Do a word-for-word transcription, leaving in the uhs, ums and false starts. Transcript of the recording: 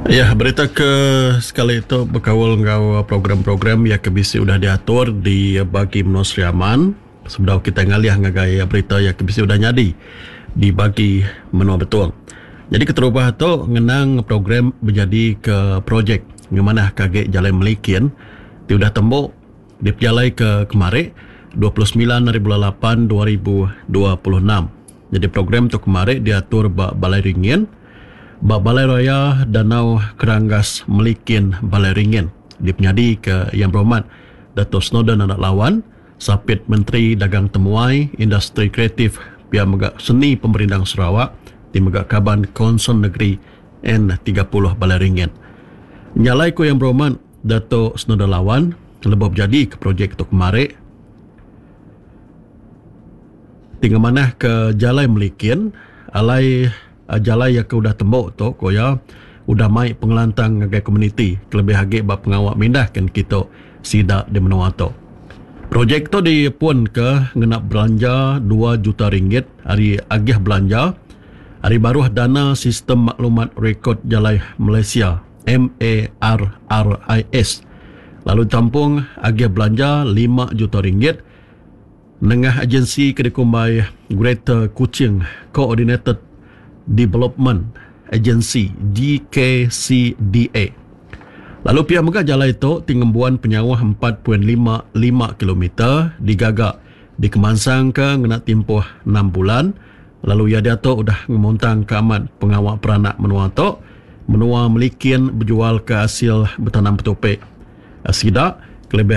Ya, berita ke sekali tu bekaul enggau program-program yang ke bisi udah diatur di bagi menua Sri Aman. Sebedau kita ngalih ngagai berita yang ke bisi udah nyadi di bagi menua Betong. Jadi keterubah tu ngenang program menjadi ke projek ngemanah kage Jalai Melikin ti udah tembok dipejalai ke kemari dua puluh semilan hari bulan lapan dua ribu dua puluh enam. Jadi program tu kemari diatur ba Balai Ringin, ba Balai Raya Danau Keranggas Melikin Balai Ringin. Dipenyadi ke Yang Berhormat Dato' Snowdan Anak Lawan, Sapit Menteri Dagang Temuai, Industri Kreatif, Pia Mega Seni Pemerindang Sarawak, ti mega Kaban Konsul Negeri N tiga puluh Balai Ringin. Nyalai ku Yang Berhormat Dato' Snowdan Lawan lebuh berjadi ke projek tu kemari tinggal manah ke Jalai Melikin alai jalai yang ke udah tembok tu ko ya udah mai pengelantang ngagai komuniti kelebih agi ba pengawa mindahkan kita sida di menua tu. Projek tu dipun ke ngena belanja dua juta ringgit hari agih belanja hari baruh dana sistem maklumat rekod Jalai Malaysia M A R R I S lalu tampung agih belanja lima juta ringgit nengah agensi Kedekumbai Greater Kuching Coordinated Development Agency G K C D A. Lalu pihak mega jalai tu tingembuan penyauh empat point lima lima kilometer digaga dikemansang ke ngena tempoh enam bulan. Lalu ia dia tu udah ngemuntang ke amat pengawak peranak menua tu menua Melikin berjual ke hasil bertanam petupik. Sida